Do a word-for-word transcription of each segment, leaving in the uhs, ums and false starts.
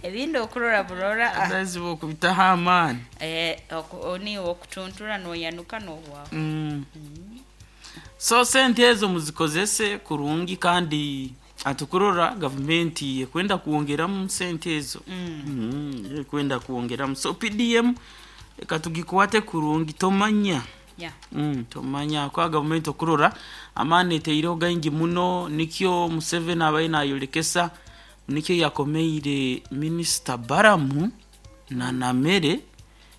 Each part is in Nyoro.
Ebindi okurora burora ah, Otherwise bokubitaho amaani. Eh, oku- niiwe okutuntura noyanuka nohwaho. Mm. So sente ezo muzikozese kurungi, kandi atukurora gavumenti ekwenda kuwongeramu sente ezo. Mm. Mm, ekwenda kuwongeramu, so P D M eka tugikwate kurungi, tomanya. Yeah. Mm, tomanya kwa gavumenti okurora amaani eteireho gaingi muno. Nikyo Museveni abaire nayolekesa, nikyo yakomeire Minisita Baramu na Namere,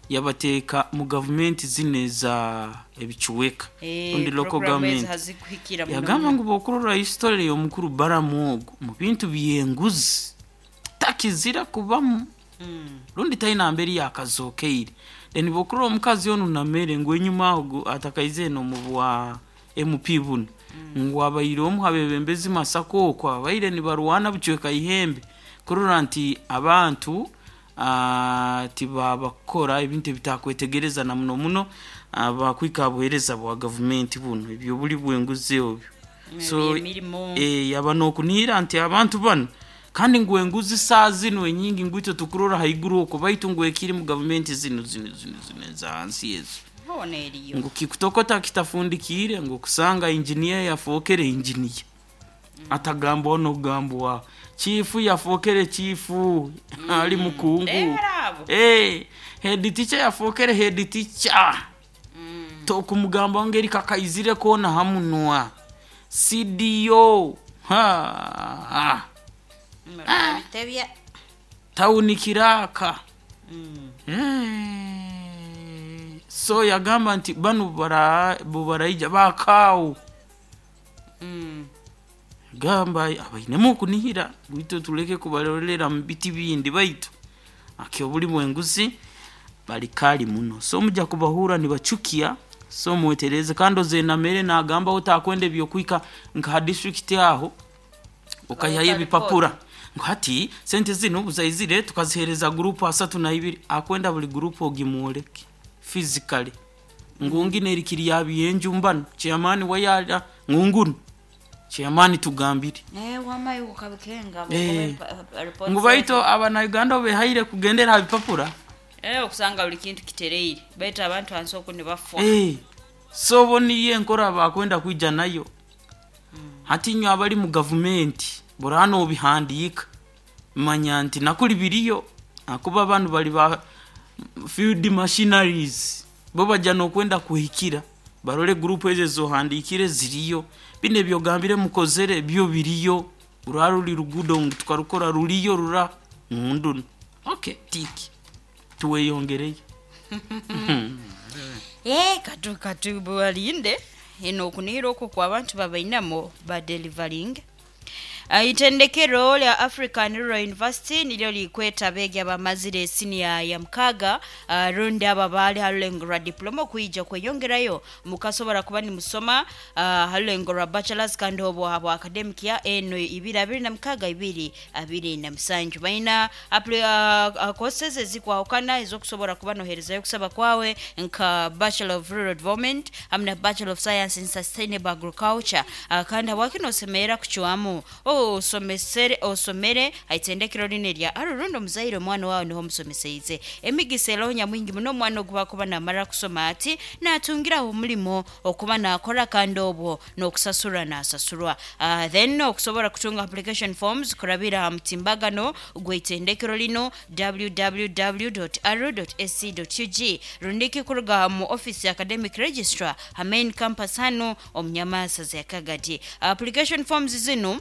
yabateeka mu gavumenti zino eza ebicuweka Eh, rundi local program ezo government. hazikuhikira muno Yagamba muno. ngu bokurora history y'omukuru Baramu ogu mu bintu byenguzi takizira kubamu Mm. rundi taina mberi yakazokeire. Then bokurora omukazi onu Namere, ngu enyuma aho gu- atakaize eno mu bwa M P buno, ngu abaire omu habebembezi Masaka okwo abaire nibarwana bucweka ihembe kurora nti abantu ah, tibabakora ebintu ebitakwetegereza na muno muno abakwika buhereza bwa gavumenti buno ebyo buli bwenguzi obyo. So Ebyemirimu. eh, yaba nokunihira nti abantu bano kandi ngu enguzi saa zino enyingi ngu itwe tukurora haiguru okwo, baitu ngu ekiri mu gavumenti zino zino zino zino eza hansi ezo Hoona eriyo. Ngu kikutokota kitafundikire, ngu kusanga injiniya yafookere injiniya atagambwaho nokugambwaho, chifu yafookere chifu ali mukungu. Ndebera abo. Eh, head teacher yafookere head teacher Mm. tokumugamba ngeri kakaizire kona hamunwa C D O ha, ha. Bitebya. Tawuni kiraka. Mm. Eh, so yagamba nti bano bara- bo baraija bakaawo. Mm. Gamba abainemu okunihira bwitu tuleke kubarolera mu biti bindi, baitu akyo buli bwenguzi bali kali muno, so mujja kubahura nibachukia. So mwetereze. Kandi ozenamere nagamba otakwenda ebyokwika nka district aho okayihayo Bareta. ebipapura ngu hati sente zino buzaizire tukazihereza gurupu asatu na ibiri, akwenda buli gurupu ogimwoleke physically ngungi nerikiri yabiyenjumbano chairman wayala ngungunu chairman tugambire. Eh, wamayi ukabikenga. Eh. Ngu baitu abanauganda behaire kugendera ha bipapura. Eh, okusanga buli kintu kitereire, baitu abantu hansi oku nibafa. Eh, so bo niyo enkora bakwenda kwija nayo. Hati inywe abali mu gavumenti burano obihandiika, manya nti nakuli biriyo, akuba abantu bali ba field machineries, bo bajja nokwenda kuhikira barole gurupu ezo zohandikire ziriyo, bino ebyogambire mukozere byo biriyo, rura ruli rugudo ngu tukarukora ruriyo rura ngunduno, okay, tiki tuweyongereyo. Eh, katu katu balinde eno okunihira okwo kwa abantu babainamo ba delivering. Uh, itendekero lya African Rural University nilyo likweta abeegi abamazire siniya ya mukaga, uh, rundi abo abaali ha rulengo rwa diploma okwija kweyongerayo. Mukasobora kuba nimusoma uh, ha rulengo rwa bachelors kandi obwo habwa academic ya eno ibiri abiri na mukaga ibiri abiri na musanju. Baina appli- uh, uh, courses ezikwahukana ezokusobora kuba noherezayo okusaba kwawe, nka Bachelor of Rural Development hamwe na Bachelor of Science in Sustainable Agriculture. uh, kandi habwaki nosemerera kucwamu osomesere osomere haitendekero lino lya Arurundo? Omuzaire omwana wawe niho omusomeseize, emigisa eroho nyamwingi muno. Omwana ogu bakuba namara kusoma ati natungiraho omulimo okuba nakora kandi obwo n'okusasurwa nasasurwa. uh, then okusobola kutunga application forms kurabira ha mutimbagano gw'itendekero lino w w w aru ac ug, rundiki kuruga mu office ya academic registrar ha main campus hano omunyamasa za Kagadi. Application forms zino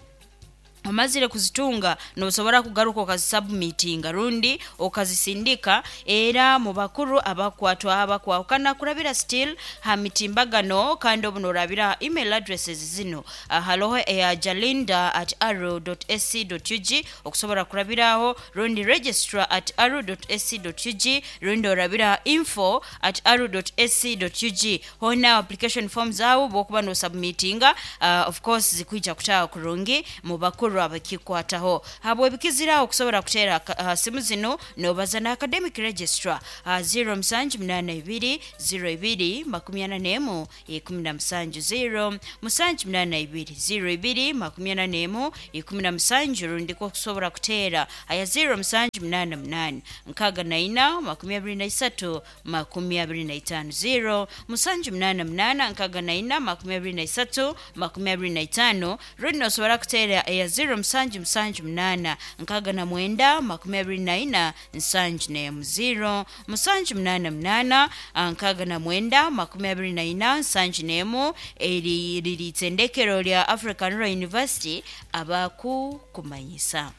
omazire kuzitunga, nosobora kugaruka okazisubmitinga rundi okazisindika era mu bakuru abakwatwa abakwahukana kurabira still ha mitimbagano. Kandi obu norabira email addresses zino, uh, haloho eya jalinda at aru ac ug okusobora kurabiraho, rundi registrar at aru ac ug, rundi orabira info at aru ac ug. Hona application forms awo bwokuba nosubmitinga, uh, of course zikwija kutaha kurungi mu bakuru. Abakuru abakikwataho habwe bikiziraho kusobora kutera uh, simu zino nobaza na academic registrar uh, zero musanju munana ibiri zero ibiri makumi ana n'emu ikumi na musanju zero musanju munana ibiri zero ibiri makumi ana n'emu ikumi na musanju rundi ko kusobora kutera aya zero musanju munana munana nkaga na ina makumi abiri na isatu makumi abiri na itano zero musanju munana munana nkaga na ina makumi abiri na isatu makumi abiri na itano rundi nosobora kutera eya zero musanju musanju munana nkaga na mwenda makumi abiri na ina nsanju n'emu zero musanju munana munana ah, nkaga na mwenda makumi abiri na ina nsanju n'emu eri riri itendekero lya African Rural University abakukumanyisa.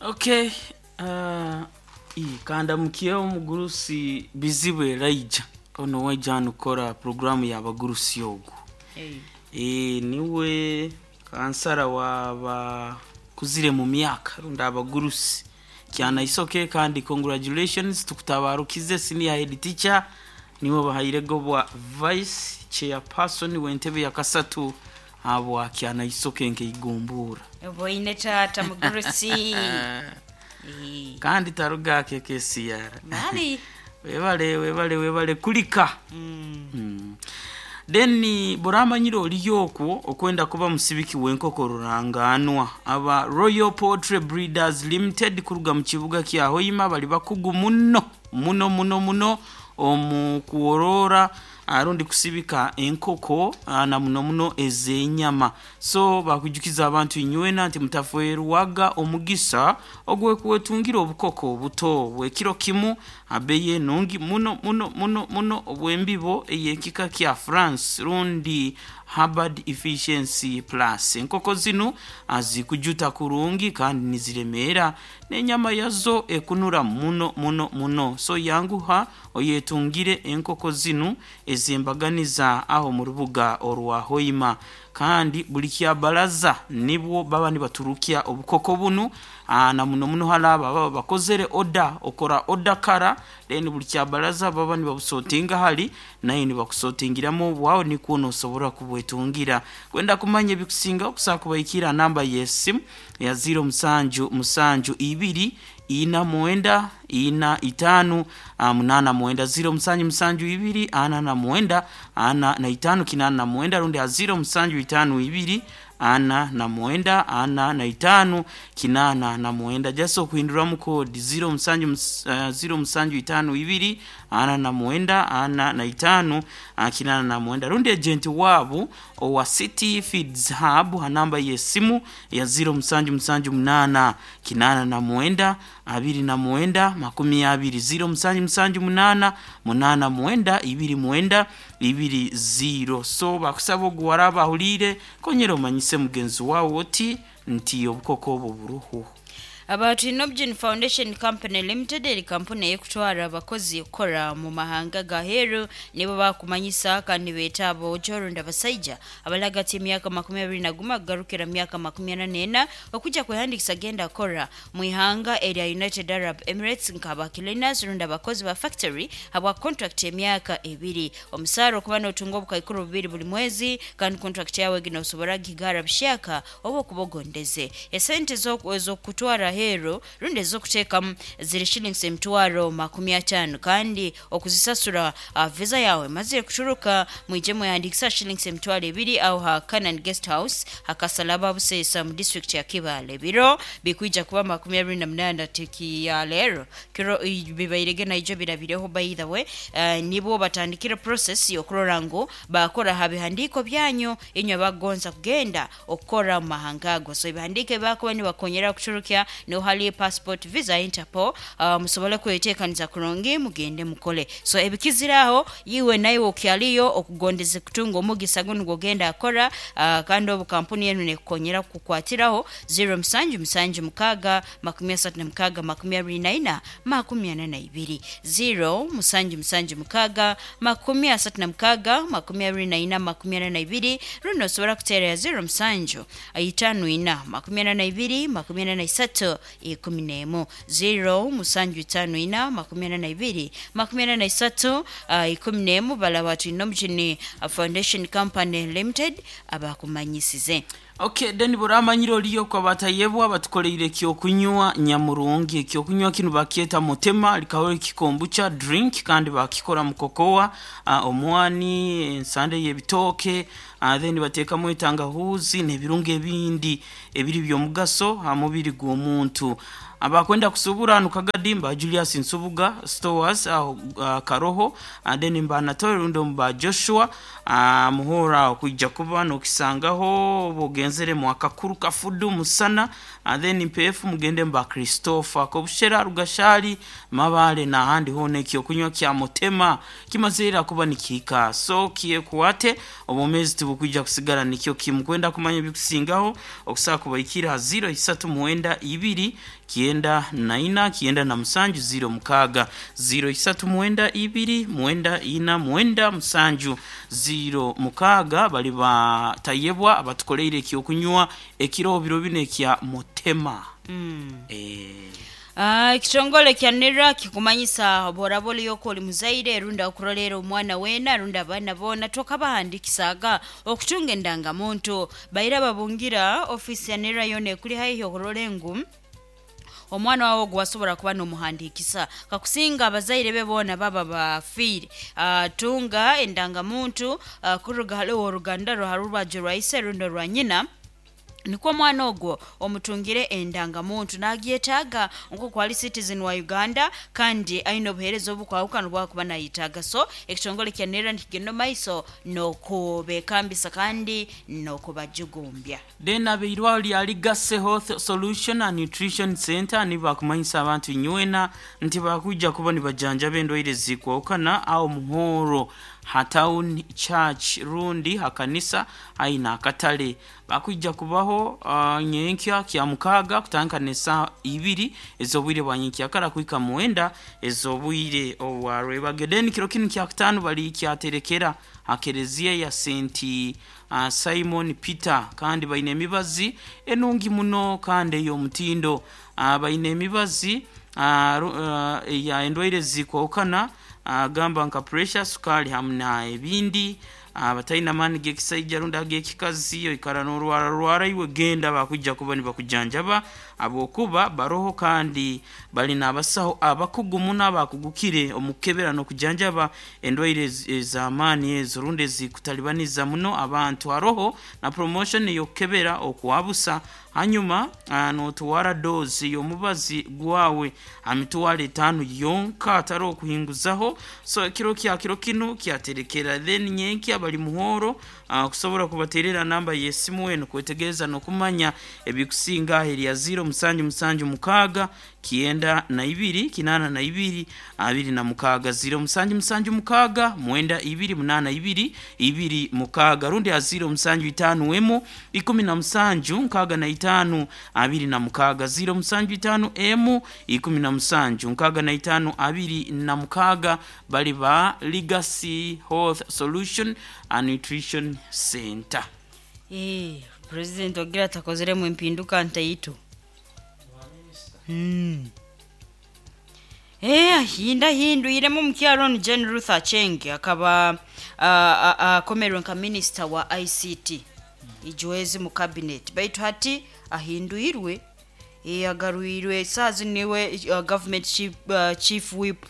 Okay, uh, kandamukiye omugurusi Bizibu Elijah ono waija hanu kukora programu y'abagurusi ogu. E, niwe kansara wabakuzire mu myaka rundi abagurusi kyanaisoke, kandi congratulations, tukutabarukize senior head teacher niwe bahairego bwa vice chairperson w'entebe ya kasatu habwa kyanaisoke nkeigumbura. Boine tata mugurusi. Eh, kandi taruga kekesiyara mali webale webale webale kulika. Mm. Mm. Then buramanyire oliyo okwo okwenda kuba musibiki w'enkoko ruranganwa aba Royal Poultry Breeders Limited kuruga mu kibuga kya Hoima bali bakugu muno muno muno muno omu kuworora arundi kusibika enkoko ah, na muno muno ez'enyama. So bakujukiza abantu inywena nti mutaferwaga omugisa ogwekuwetungira obukoko obuto bwekiro kimu abeye nungi muno muno muno muno obwembibo eyekika kya France rundi Harvard Efficiency Plus. Enkoko zino azikujuta kurungi kandi niziremera n'enyama yazo ekunura muno muno muno. So yanguha oyetungire enkoko zino ezembaganiza aho mu rubuga orwa Hoima, kandi buli kyabalaza nibwo baba nibaturukya obukoko bunu aa, na muno muno halaba baba bakozere oda okora oda kara, then buli kyabalaza baba nibabusotinga hali naye nibakusotingiramu bwawe nikwo nosobora kubwetungira. Kwenda kumanya ebikusinga okusobola kubaikira namba y'esimu ya zero musanju musanju ibiri ina mwenda ina itanu ah, munana mwenda zero musanju musanju ibiri ana na mwenda ana na itanu kinana na mwenda rundi ya zero musanju itanu ibiri ana na mwenda ana na itanu kinana na mwenda jaso kuhinduramu kodi zero musanju mus- uh, zero musanju itanu ibiri ana na mwenda ana na itanu ah, kinana na mwenda rundi agent wabu owa City Feeds Hub ha namba y'esimu ya zero musanju musanju munana kinana na mwenda abiri na mwenda makumi abiri zero musanju musanju munana munana mwenda ibiri mwenda ibiri zero. So bakusaba oguwara bahulire konyera omanyise mugenzi wawe oti nti obukoko obwo buruhu. Abantu Inobgen Foundation Company Limited eri kampuni eyekutwara abakozi okukora mu mahanga gaheru nibo bakumanyisa kandi beeta aboojo rundi abasaija abalagati emyaka makumi abiri na guma kugarukira myaka makumi ana n'ena okujja kwehandikisa genda kora mu ihanga erya United Arab Emirates nk'aba cleaners rundi abakozi ba factory habwa contract emyaka ebiri omusaara okuba n'otunga obukaikuru bubiri buli mwezi kandi contract yawe ginosobora gigara bushaka oba okubogondeze esente ez'oku- ez'okutwara hero rundi ez'okuteekamu ziri shillings emitwaro makumi ataano kandi okuzisasura uh, visa yawe mazire kuturuka mwije mwehandikisa shillings emitwaro ebiri aho ha Canaan Guest House hakasalaba Buseesa mu district ya Kibaale. Biro bikwija kuba makumi abiri na munana tiki ya lero kiro i- bibairege naijo birabireho by the way uh, nibo batandikire process yokurora ngu bakora ha bihandiko byanyu inywe bagonza kugenda okukora mu mahanga ago. So ebihandiko ebakuba nibakonyera kuturukya niho hali passport, visa, Interpol, uh, musobole kwetekaniza kurungi mugende mukole. So ebikiziraho yiwe nawe okyaliyo okugondeze kutunga omugisa guno gwogenda akora uh, kandi obu kampuni yenu nekukonyera kukwatiraho zero musanju musanju mukaga makumi asatu na mukaga makumi abiri na ina makumi ana na ibiri zero musanju musanju mukaga makumi asatu na mukaga makumi abiri na ina makumi ana na ibiri runo osobola kuteera ya zero musanju itano ina makumi ana na ibiri makumi ana na isatu ikumi n'emu zero musanju itano ina makumi ana na ibiri makumi ana na isatu uh, ikumi n'emu balaba tulina omukini uh, Foundation Company Limited abakumanyisize. Okay, then buramanyire oliyo kwa batayebwa batukoleire ekyokunywa nyamurungi. Ekyokunywa kinu bakyeta mutema, likaho ekikombucha drink, kandi bakikora mu kokoa, uh, omwani, ensande y'ebitooke, uh, then bateekamu etangahuzi n'ebirungo ebindi ebiri by'omugaso ha mubiri gw'omuntu. Abakwenda kusubura hanu Kagadi mba Julius Nsubuga Stores aho uh, Karoho, and then mba Anatole rundi mba Joshua uh, muhora okwijja kuba nokisangaho bogenzere mu akakuru kafudu musana, and then mpefu mugende mba Christopher Kobushera Rugashali Mabale n'ahandi hona. Ekyokunywa kya mutema kimazira kuba nikihika, so kiekuwate obumezi tibukwijja kusigara nikyo kimu. Kwenda kumanya ebikusingaho okusaba kubaikira ha ziro isatu mwenda ibiri kienda na ina kienda na musanju ziro mukaga, ziro isatu mwenda ibiri mwenda ina mwenda musanju ziro mukaga. Bali batayebwa abatukoleire ekyokunywa ekiro biro bino ekya mutema. Mm. Eh, Ah, ekitongole kya NERA kikumanyisa boraba oliyoko oli muzaire rundi okurolera omwana wena rundi abaana boona tokabahandikisaga okutunga endangamuntu. Baira babungira ofisi ya NERA yona ekuli haihi okurora engu omwana wawe ogwo wasobola kuba nomuhandikisa, kakusinga abazaire be boona baba bafiire. uh, tunga endangamuntu uh, kuruga haliwo oruganda rwo harurwajo rwa ise rundi rwa nyina, nikwo omwana ogwo omutungire endangamuntu nagyetaaga nkoku ali citizen wa Uganda kandi aine obuheereza obukwahukana obwakuba nayetaaga. So ekitongole kya NERA nikigenda maiso n'okubekambisa kandi n'okubajugumbya. Then abeirwaro lya Legacy Health Solution and Nutrition Center nibakumanyisa abantu nywena nti bakujja kuba nibajanjaba endwaire zikwawukana awo muhoro ha town church rundi hakanisa aina akatale. Bakujja kubaho uh, nyenkya kya mukaga kutandika n'esaaha ibiri ez'obwire bwa nyenkyakara kuhika mwenda ez'obwire obwarwebage. Then kiro kinu kya kutaano bali kyaterekera ha kereziya ya Saint uh, Simon Peter, kandi baine emibazi enungi muno kandi ey'omutindo. uh, baine emibazi uh, uh, ya endwaire zikwawukana, uh, gamba nka pressure, sukali hamu na ebindi. Abatalina maani g'ekisaija rundi ag'ekikazi, oikara n'orwara rwara, iwe genda bakujja kuba nibakujanjaba habwokuba baroho kandi bali n'abasaho abakugu muno abakugukire omu kukebera n'okujanjaba endwaire ez'amaani ezo rundi ezikutalibaniza muno abantu. Haroho na promotion ey'okukebera okwabusa, hanyuma n'otwara dose y'omubazi gwawe ha mitwaro etaano yonka atari okuhinguzaho. So ekiro kya kiro kinu kyaterekera, then nyenkya bali muhoro uh, kusobola kubaterera namba y'esimu eno kwetegereza n'okumanya ebikusinga erya ziro musanju musanju mukaaga kienda na ibiri kinana na ibiri abiri na mukaaga, ziro musanju musanju mukaaga mwenda ibiri munana ibiri ibiri mukaaga, rundi ha ziro musanju itaano emu ikumi na musanju nkaaga na itaano abiri na mukaaga, ziro musanju itaano emu ikumi na musanju nkaaga na itaano abiri na mukaaga. Bali ba Legacy Health Solution and Nutrition Center. Eh, president ogira atakozeremu empinduka ntaito. Mm. Eh, ahinda hindwiremu mukyalo onu Jane Ruth Acheng akaba akomerwe nka minister wa I C T ijwezi mu cabinet, baitu hati ahindwirwe, eh, agarwirwe saazi niwe uh, government chief, uh, chief whip,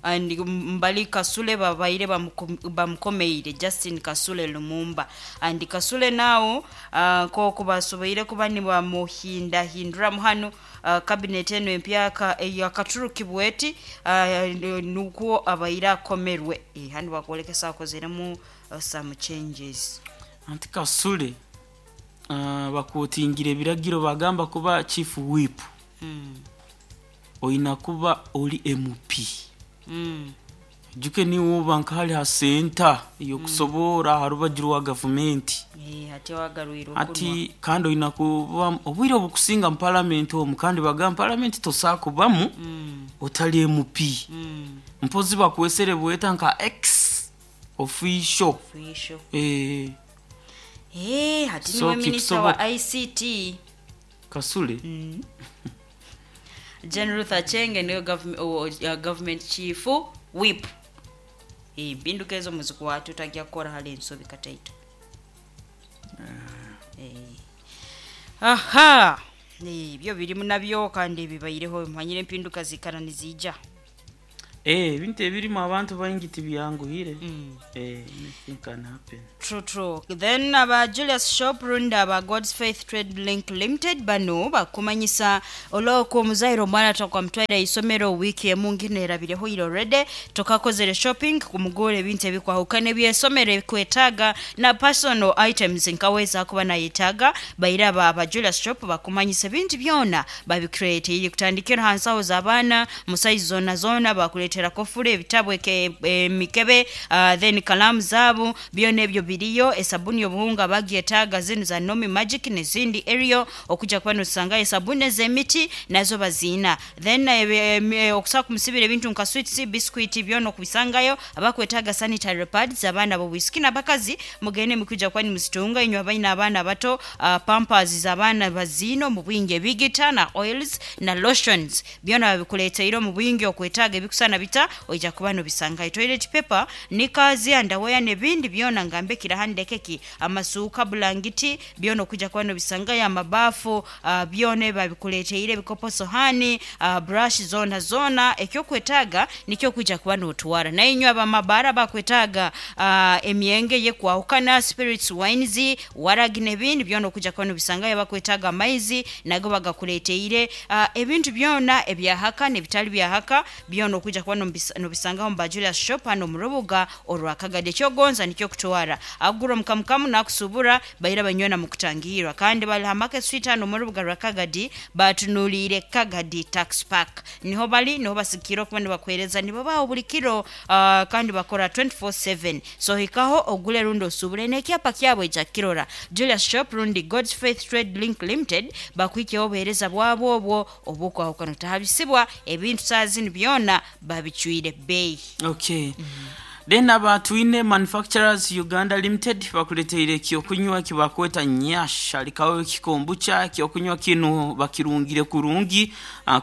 and mbali Kasule babaire bamukomeire Justin Kasule Lumumba, and Kasule nawo uh, nk'oku basoboire kuba nibamuhindahinduramu hanu uh, cabinet eno empyaka eyakaturukibwa eti uh, nukwo abaire akomerwe. E, hanu bakwolekesa akozeremu uh, some changes. Anti Kasule uh, bakutingira ebiragiro bagamba kuba chief whip mm. oyina kuba oli M P. Mm. Juke niwe oba nkahali ha senta ey'okusoboora ha rubaju rwa gavumenti. Eh, ate wagarwire okunwa. Ati kandi oyina kuba obwire obukusinga mu palamenti omu, kandi bagamba palamenti tosaa kubamu Mm. otali M P. Mm. Mpozi bakwesere bweta nka ex officio. Official. Eh, Eh, hati So, niwe minister wa kikusoboka. I C T. Kasule. Mm. Jane Ruth Achenge niwe government, oh, uh, government chief whip. Eh, mpinduka ezo muzikwata otajja kukora hali ensobi kataito. Aha, ebyo birimu nabyo kandi bibaireho, manyire empinduka zikara nizija. Eh, ebintu ebirimu abantu baingi tibyanguhire. Mm. Eh, anything can happen. True, true. Then aba Julius Shop rundi aba God's Faith Trade Link Limited bano bakumanyisa olwoko omuzaire omwana tokamutwaira isomero wiiki emu ngino erabireho ire already, tokakozere shopping kumugura ebintu ebikwahukana ebyesomero ebikwetaaga na personal items nkaweza kuba nayetaaga. Baire aba aba Julius Shop bakumanyisa ebintu byona babicreate iri kutandikira ha nsaho z'abaana mu size zona zona, bakuleetera kofule, ebitabu, emikebe, uh, then kalamu zaabo byona ebyo biriyo, esabuni obuhunga bagyetaaga zinu za Nomi Magic n'ezindi Ariel, okujja kuba nosangayo esabuni ez'emiti nazo baziina. Then eh, okusobola kumusibira ebintu nka sweets, biscuit, byona okubisangayo. Abakwetaaga sanitary pads abaana b'obwisiki n'abakazi mugende mukwijja kuba nimuzitunga. Inywe abaina abaana bato, uh, pampers z'abaana baziina omu bwingi, ebigita na oils na lotions byona babikuleeteire omu bwingi. Okwetaaga ebikusana bita oija kuba nobisangayo. Toilet paper, knickers, underwear n'ebindi byona, ngambe kirahandekeki, amasuuka, bulangiti, byona okujja kuba nobisangayo. Amabaafu, uh, byona babikuleeteire, ebikopo, sohani, uh, brush zona zona, ekyokwetaaga nikyo okwijja kuba notwara. Naye inywe abamabara bakwetaaga uh, emyenge yekwahukana, spirits, wines, waragi n'ebindi byona okujja kuba nobisangayo. Bakwetaaga amaizi nago bagakuleeteire. uh, ebintu byona ebyahaka n'ebitali byahaka byona okujja kuba nobisangaho mu ba Julius Shop hano mu rubuga orwakagadi. Ekyogonza nikyo kutwara, agura omukamukamu nakusubura baira banywena mu kutangirwa. Kandi bali ha Market Street hano mu rubuga rwa Kagadi, batunuliire Kagadi Tax Park, niho bali, niho basikire okuba nibakuhereza, nibabaho buli kiro, uh, kandi bakora twenty-four seven. So hikaho ogule rundi osubure n'ekyapa kyabo ekya kirora Julius Shop rundi God's Faith Trade Link Limited, bakwikeho obuhereza bwabo obwo obwokwahukana. Tahabisibwa ebintu saazini byona babicwire beeyi. Okay, then aba Twine Manufacturers Uganda Limited bakuleteire ekyokunywa kibakweta Nyash alikawo ekikombucha. Ekyokunywa kino bakirungire kurungi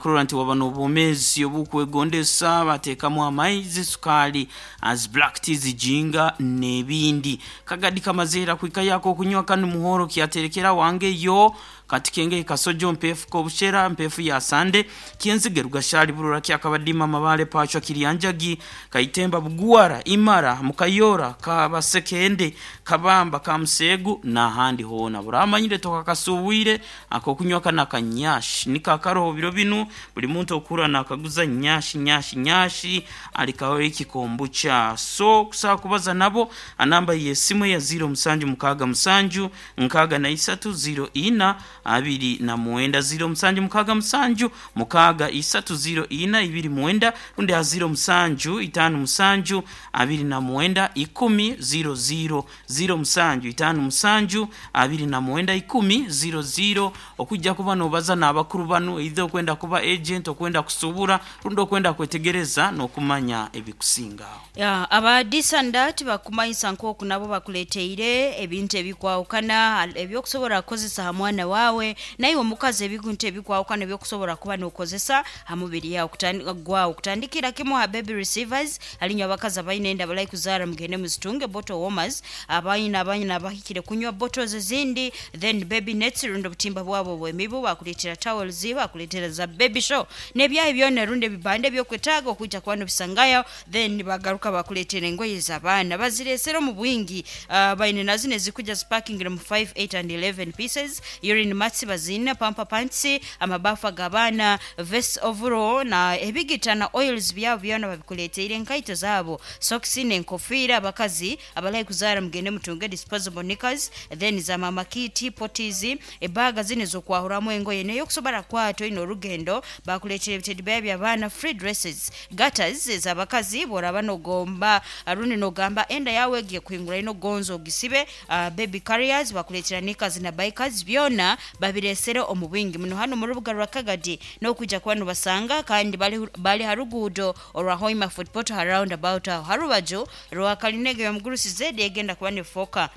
kurora nti waba n'obwomeezi obukwegondesa. Bateekamu amaizi, sukaali, as black tea, zijinga n'ebindi. Kagadi kamazeera kwika yako okunywa kanu muhoro kyaterekera wange yo kati kenge kasojo mpefu kobushera mpefu ya sande kienzige rugashali burura kyakabadima mabale pachwa kirianjagi kaitemba buguara imara mukayora kabasekende kabamba kamusegu n'ahandi hona buramanyire tokakasuwire ako kunywa kana kanyashi nikakaroho biro binu buli muntu okura nakaguza nyashi nyashi nyashi alikaho ikikombucha. So kusaba kubaza nabo anamba yesimu ya zero musanju mukaga musanju nkaga na isatu zero ina abiri na mwenda, zero musanju mukaga musanju mukaga isatu zero ina ibiri mwenda, rundi ya zero musanju itanu musanju abiri na mwenda ikumi zero zero, zero musanju itanu musanju abiri na mwenda ikumi zero zero, okujja kuba nobaza n'abakuru banu either okwenda kuba agent, okwenda kusubura rundi okwenda kwetegereza n'okumanya ebikusingaho. Ya, aba Disandat bakumanyisa nk'oku nabo bakuleteire ebintu ebikwawukana ebyokusobola kukozesa ha mwana wawe naye omukazi, ebintu ebikwawukana ebyokusobola kuba nokozesa ha mubiri yawe gwawe, kutandikira kimu ha baby receivers. Alinywa abakazi abalina enda balai kuzaara, mugende muzitunge. Bottle warmers, abalina abanyina abahikire kunywa bottles ezindi, then baby nets rundi obutimba bwabo bwemibu, bakuleetera towels, bakuleetera za baby show n'ebyayi byona rundi ebibanda ebyokwetaaga okwijja kuba nobisangayo. Then bagaruka bakuleetera engoye z'abaana bazireesera omu bwingi, uh, baine nazo nezikujja zipakingire mu five, eight and eleven pieces. Urine mats bazina, pamper pants, amabafu ag'abaana, vest, overall na ebigita na oils byabo byona babikuleeteire, enkaito zaabo, socks n'enkofiira. Abakazi abalayi kuzaara mugende mutunge disposable knickers, then za mama kit, potties, ebaga zino ezokwahuramu engoye naye okusobola kwata olina olugendo. Bakuleetera ebitedibeya by'abaana, free dresses, gaiters ez'abakazi bw'oraba nogomba rundi nogamba enda yawe egiye kuhingura ino gonzo ogisibe, uh, baby carriers, bakuleetera knickers na bikers, byona babiresere omu bwingi muno hano mu rubuga rwa Kagadi n'okwijja kuba nobasanga. Kandi bali, bali ha ruguudo orwa Hoima Fort Portal roundabout, aho harubaju rwa Kalinege yomugurusi zedi egenda kuba nefoka.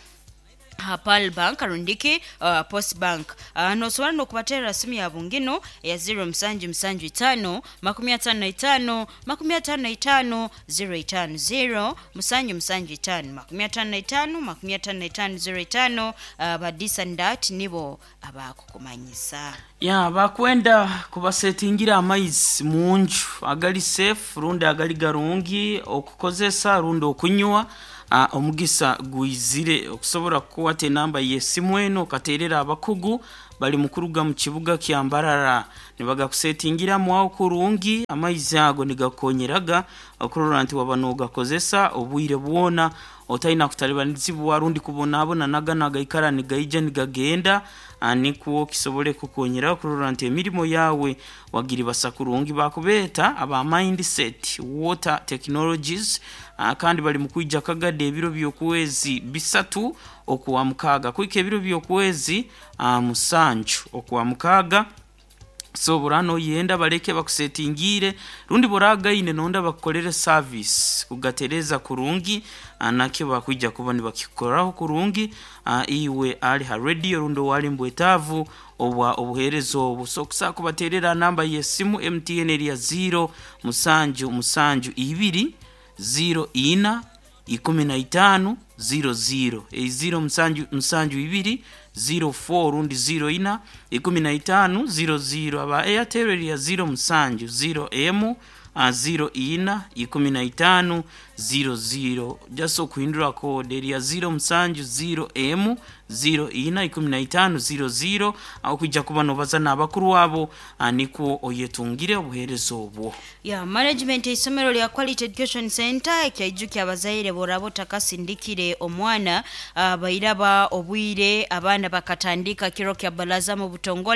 Ha Pearl Bank rundiki uh, Post Bank. uh, nosobora nokubaterera simu yabo ngino ya zero musanju musanju itano makumi atano na itano makumi atano na itano zero itano zero musanju musanju itano makumi atano na itano makumi atano na itano zero itano. uh, badisandat nibo abakukumanyisa. Ya, bakwenda kubasetingira amaizi munju agali safe rundi agali garungi okukozesa rundi okunywa. uh, omugisa gwizire okusobora kukwata enamba y'esimu eno okaterera abakugu bali mukuruga mu kibuga kya Mbarara, nibagakusetingiramu aho kurungi. Amaizi ago nigakonyeraga okurora nti waba nogakozesa obwire bwona otalina kutalibanizibwa rundi kubonabona naga nagaikara nigaija nigagenda, nikwo kisobole kukonyera okurora nti emirimo yawe wagiribasa kurungi. Bakubeeta aba Mindset Water Technologies, kandi bali mukwija Kagade ebiro by'okwezi bisatu okuwa mukaaga kuhika ebiro by'okwezi musanju okuwa mukaaga. So burano yenda baleke bakusetingire rundi boragaine nonda bakukolere service kugatereza kurungi, nakyo bakwija kuba nibakikoraho kurungi. Iwe ali ha radio rundi wali mbwetaavu obwa obuheereza obu, so kusaa kubaterera namba y'esimu M T N eri ya zero musanju musanju ibiri zero ina ikumi na itano zero zero, zero musanju musanju ibiri zero four rundi zero ina ikumi na itano zero zero. Aba Airtel eri ya zero musanju zero m zero ina ikumi na itano zero zero, just okuhindura code eri ya zero musanju zero m zero ina ikumi na itano zero zero, aho kwijja kuba nobaza n'abakuru abo nikwo oyetungire obuheereza obwo. Ya management isomero lya Quality Education Center ekyaijukya abazaire boraba otakasindikire omwana, uh, bairaba obwire abaana bakatandika kiro kya balaza mu butongole.